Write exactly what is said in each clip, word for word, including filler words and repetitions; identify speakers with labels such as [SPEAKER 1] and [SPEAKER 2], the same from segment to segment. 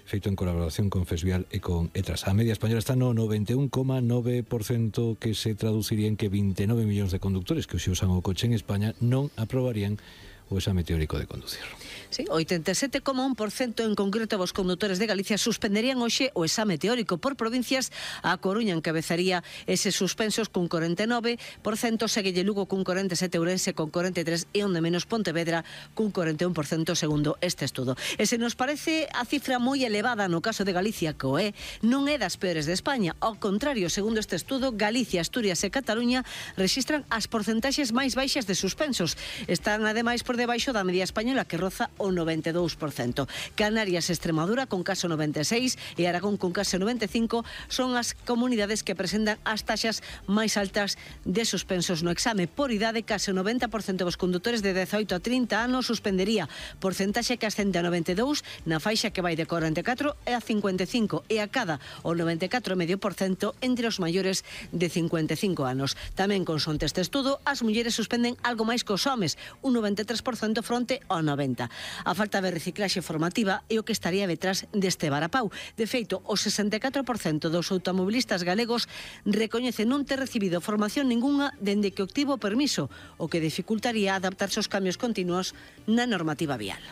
[SPEAKER 1] feito en colaboración con Fesvial e con Etras. A media española está no noventa e un coma nove por cento, que se traduciría en que vinte e nove millóns de conductores que hoxe usan o coche en España non aprobarían o exame teórico de conducir.
[SPEAKER 2] Sí, oitenta e sete coma un por cento en concreto os condutores de Galicia suspenderían hoxe o exame teórico. Por provincias, a Coruña encabezaría eses suspensos cun cuarenta e nove por cento, seguelle Lugo cun cuarenta e sete por cento, Ourense con cuarenta e tres por cento e onde menos Pontevedra cun cuarenta e un por cento segundo este estudo. E se nos parece a cifra moi elevada no caso de Galicia, que o é, non é das peores de España. Ao contrario, segundo este estudo, Galicia, Asturias e Cataluña rexistran as porcentaxes máis baixas de suspensos. Están ademais por debaixo da media española, que roza o noventa e dous por cento. Canarias e Extremadura con caso noventa e seis e Aragón con caso noventa e cinco son as comunidades que presentan as taxas máis altas de suspensos no exame. Por idade, case o noventa por cento dos condutores de dezaoito a trinta anos suspendería, porcentaxe que ascende a noventa e dous na faixa que vai de cuarenta e catro e a cincuenta e cinco e a cada o noventa e catro coma cinco por cento entre os maiores de cincuenta e cinco anos. Tamén consonte este estudo, as mulleres suspenden algo máis que os homes, un noventa e tres por cento fronte ao noventa por cento. A falta de reciclaxe formativa é o que estaría detrás deste varapau. De feito, o sesenta e catro por cento dos automobilistas galegos recoñecen non ter recibido formación ningunha dende que obtivo o permiso, o que dificultaría adaptarse aos cambios continuos na normativa vial.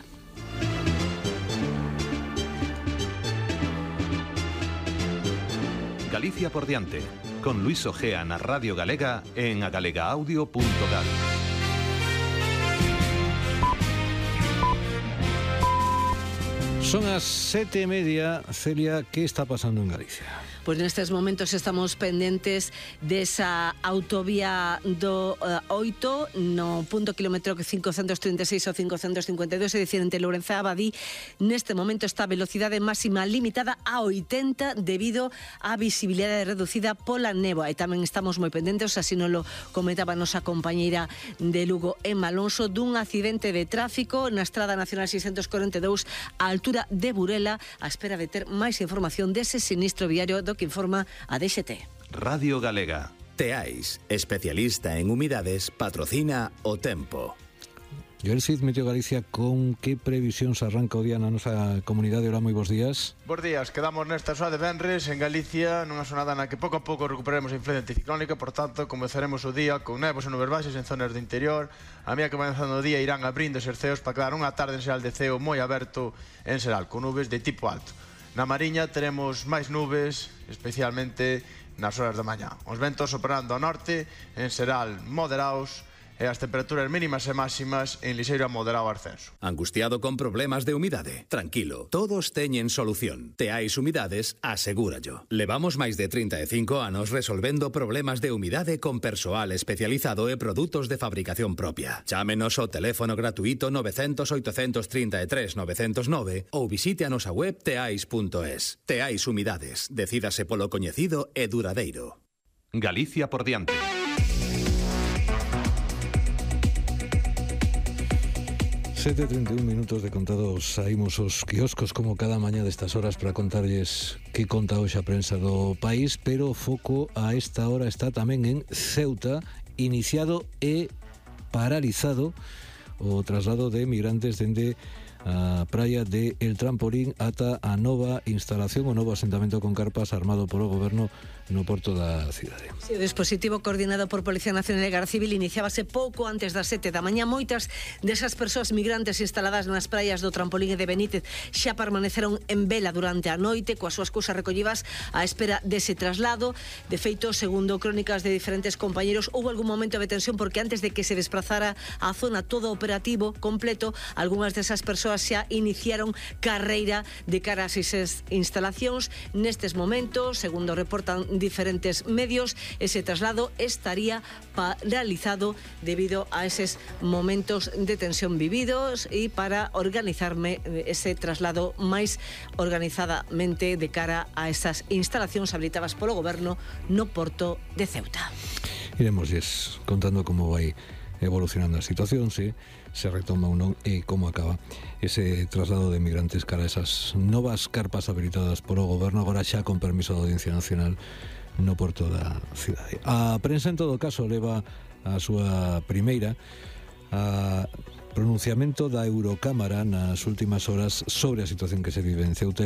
[SPEAKER 3] Galicia por diante, con Luis Ojea na Radio Galega en agalegaudio punto gal.
[SPEAKER 1] Son as sete e media. Celia, ¿qué está pasando en Galicia?
[SPEAKER 2] Pois nestes momentos estamos pendentes desa autovía do uh, oito no punto kilómetro cincocentos trinta e seis ou cincocentos cincuenta e dous, é dicir, entre Lourenza e Abadí. Neste momento está a velocidade máxima limitada a oitenta debido á visibilidade reducida pola néboa, e tamén estamos moi pendentes, así non lo comentaba a nosa compañeira de Lugo, Emma Alonso, dun accidente de tráfico na Estrada Nacional seiscentos cuarenta e dous á altura de Burela, á espera de ter máis información dese sinistro viario do que informa a D X T.
[SPEAKER 3] Radio Galega.
[SPEAKER 4] Teais, especialista en humidades, patrocina o tempo.
[SPEAKER 1] Joel Cid, Meteo Galicia, con que previsións arranca o día na nosa comunidade? Hola, moi bons días.
[SPEAKER 5] Bos días, quedamos nesta xoa de venres en Galicia, nunha xornada na que pouco a pouco recuperaremos a influencia anticiclónica, por tanto, comezaremos o día con nevos e nubes baixas en zonas do interior. A medida que vai avanzando o día irán abrindo os ceos para quedar unha tarde en xeral de ceo moi aberto en xeral, con nubes de tipo alto. Na Mariña teremos máis nubes, especialmente nas horas da mañá. Os ventos operando ao norte, en xeral moderados, e as temperaturas mínimas e máximas en lixeiro a moderado ascenso.
[SPEAKER 4] Angustiado con problemas de humidade? Tranquilo, todos teñen solución. Teais Humidades, asegúrallo. Levamos máis de trinta e cinco anos resolvendo problemas de humidade con persoal especializado e produtos de fabricación propia. Chámenos ao teléfono gratuito nove cero cero, oito tres tres, nove cero nove ou visite a nosa web teais punto es. Teais Humidades, decídase polo coñecido e duradeiro.
[SPEAKER 3] Galicia por diante.
[SPEAKER 1] sete e trinta e un minutos de contados, saímos os quioscos como cada mañá destas horas para contarlles que conta hoxe a prensa do país, pero o foco a esta hora está tamén en Ceuta, iniciado e paralizado o traslado de migrantes dende a praia de El Trampolín ata a nova instalación, o novo asentamento con carpas armado polo goberno no porto da cidade.
[SPEAKER 2] Sí, o dispositivo coordinado por Policía Nacional e Garda Civil iniciábase pouco antes das sete da mañá. Moitas desas persoas migrantes instaladas nas praias do Trampolín e de Benítez xa permaneceron en vela durante a noite coas súas cousas recollivas á espera dese traslado. De feito, segundo crónicas de diferentes compañeros, houve algún momento de tensión porque antes de que se desplazara á zona todo operativo completo, algunhas desas persoas xa iniciaron carreira de cara a esas instalacións. Nestes momentos, segundo reportan diferentes medios, ese traslado estaría paralizado debido a esos momentos de tensión vividos e para organizarme ese traslado máis organizadamente de cara a esas instalacións habilitadas polo goberno no porto de Ceuta.
[SPEAKER 1] Iremosles contando como vai evolucionando a situación, se se retoma ou non e como acaba ese traslado de migrantes cara a esas novas carpas habilitadas polo goberno, agora xa con permiso da Audiencia Nacional no porto da cidade. A prensa, en todo caso, leva a súa primeira a pronunciamento da Eurocámara nas últimas horas sobre a situación que se vive en Ceuta.